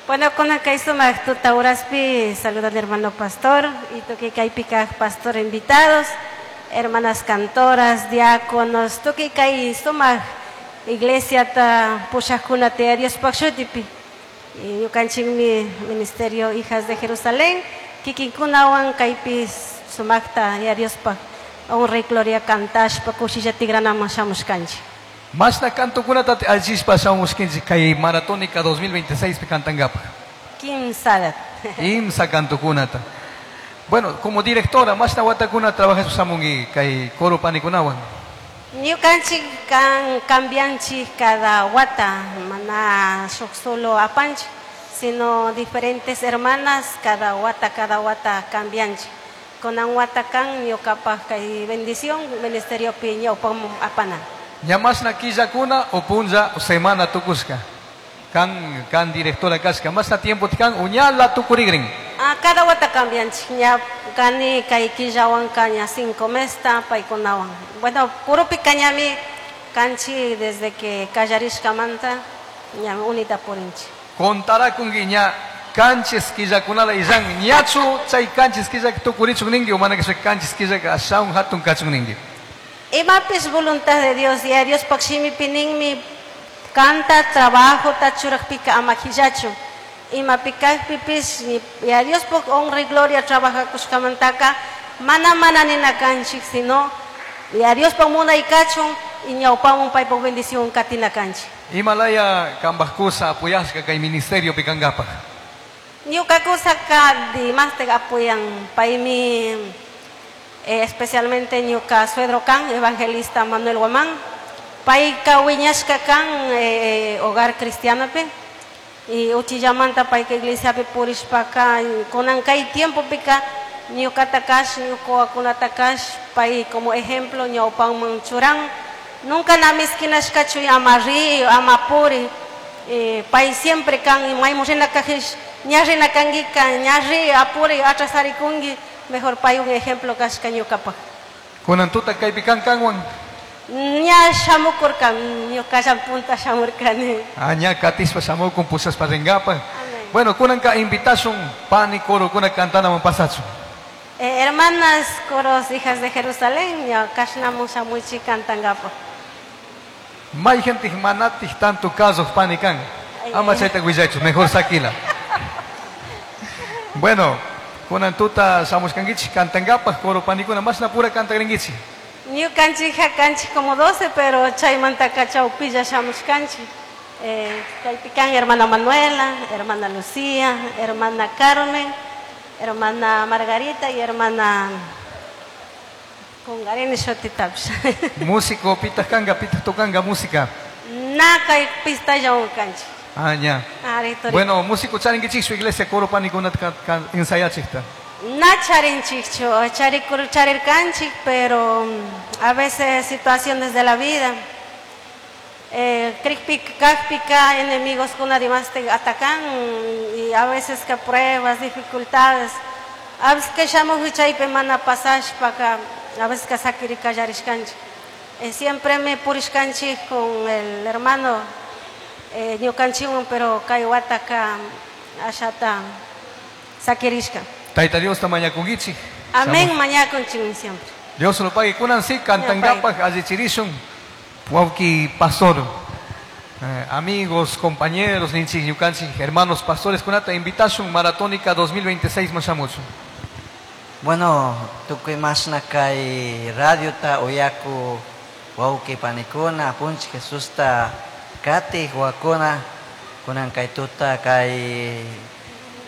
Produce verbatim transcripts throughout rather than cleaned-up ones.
Bueno, kunan kay sumaq tuta uraspi saludan hermano pastor y tukuy kaypi kaq pastor invitados, hermanas cantoras, diáconos, tukuy kay sumaq iglesiata pushaqkunata Diospaq shutipi. Y ñukanchikmi Ministerio Hijas de Jerusalén, kikinkunawan kaypi sumaqta ya Diospaq honra y gloria kantashpa kushilla tigranaman shamushkanchik. Mashna kantukunata allichishpa shamushkanchik kay Maratónica dos mil veintiséis pi kantangapaq. Kimsa. Kimsa kantukunata. Bueno, como directora, mashna watakuna trabajashpa shamunki kay coro panikunawan. Ñukanchik kan cambianchik cada wata, mana shuk solo apanchik, sino diferentes hermanas cada wata, cada wata cambianchik. Kunan wata kan ñuqapaq kay bendición ministerio pi ñawpamun apana. Ña mashna killakuna o punlla o semana tukushka. Kan, kan directora kashka, mashna tiempo kan uñala tukurigrin. Ah, cada wata cambianchik, ña kani kay killawan kaña cinco mesta paykunawan. Bueno, kurupi kañami kanchi desde que kallarishkamanta ña unita purinchik. Contarakunki ña kanchis killakunala illan ñachu chay kanchis killaka tukurichun ninki o mana kashpa kanchis killaka ashawan hatun kachun ninki. Imapis voluntad de Dios, y a Dios pakshimi pininmi canta trabajo tachurakpika ama hillachu. Imapikakpipis y a Dios por honra y gloria trabaja kushkamantaka mana mana nina kanchik, sino y a Dios por munay kachun y ñawpamun paypaq bendición katina kanchik. Himalaya kambajkusa apoyashka kay ministerio pikangapaq. Ñukakusa ka dimaste apoyan paymi, eh, especialmente ñuka suegro kan evangelista Manuel Guamán payka wiñashka kan, eh, hogar cristiano pe y uchillamanta payka iglesia pe purishpaka kunan kay tiempo pika ñukata kash ñukawakunata kash pay como ejemplo ñawpanman churan nunca na miskinashkachu ama ri ama puri, eh, pay siempre kan maymun rina kajish ña rina kankika ña ri apuri atrasarikunki mejor pay un ejemplo kashka ñukapaq. Kunan tuta kaypi kan kanwan. Ña shamukurkan ñukallan punta shamurkani. Ah, ña katispa shamukun pusaspa rinkapaq. Amén. Bueno, kunanka invitasun pani coro kuna kantanaman pasachun. Eh, hermanas coros hijas de Jerusalén, ña kashnamun shamuichi kantankapaq. May gente manatij tanto casos pani kan. Ay, Ama ay. chayta willachu, mejor sakila. Bueno, kunan tuta shamushkankichik kantankapaq coro panikuna mashna pura kantagrinkichik. Ñukanchik hakanchik como doce, pero chaymantaka chawpilla shamushkanchik. Eh, chaypi kan hermana Manuela, hermana Lucía, hermana Carmen, hermana Margarita y hermana Kungarini shutitapish. Músico pitaq kanka, pitaq tocanga música. Na kay pistallawan kanchik. Ah, ña. Ari, tori. Bueno, músico charinkichik su iglesia coro panikunata ka, ka, ensayachikta. Na charinchikchu, charikur charirkanchik, pero a veces situaciones de la vida. Eh, krikpik, kakpika, enemigos kuna dimas te atacan y a veces que pruebas, dificultades. A veces que llamo huichaype mana pasashpaka, a veces que sakirika yarishkanchik. Eh, siempre me purishkanchik con el hermano, eh, ñukanchiwan, pero kay wataka ashata sakirishka. Tayta Dios ta mañakunkichik. Amén, Shamu. mañakunchik siempre. Dios lo pague. Kunan sí, kantankapaq allichirishun. Wawki pastor, eh, amigos, compañeros, ninchik, ñukanchik, hermanos pastores, kunata invitashun Maratónica dos mil veintiséis mashamuchun. Bueno, tukuy mashna kay radiota uyaku wawki panikuna, punch Jesusta katij wakuna, kunan kay tuta kay,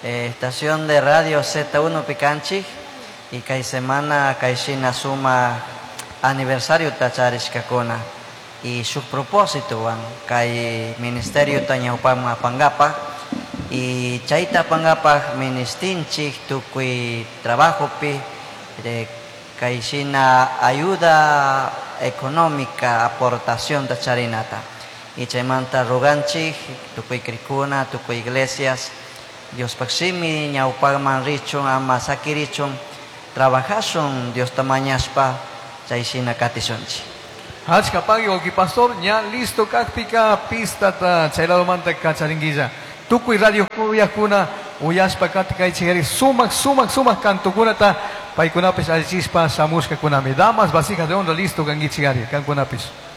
eh, estación de radio Z uno pikanchik y kay semana kay shina suma aniversario tacharishkakuna y su propósito wan kay ministerio tañawpama apangapaj y chayta apangapaj ministinchik tukuy trabajopi de kay shina ayuda económica aportación tacharinata y chaymanta roganchik tukuy krikuna tukuy iglesias Dios paksimi ñawpagman richun ama sakirichun trabajashun Dios tamañaspa chay shina katishunchik. Achka pagui wawki pastor, ña listo kakpika pistata chay ladomanta kacharinguilla. Tukuy radio uyakuna uyashpa katikaychik sumak sumak sumak kantukunata paykunapish allichispa shamushkakunami. Damas, vasijas de honra, listo kankichik ari, kankunapish.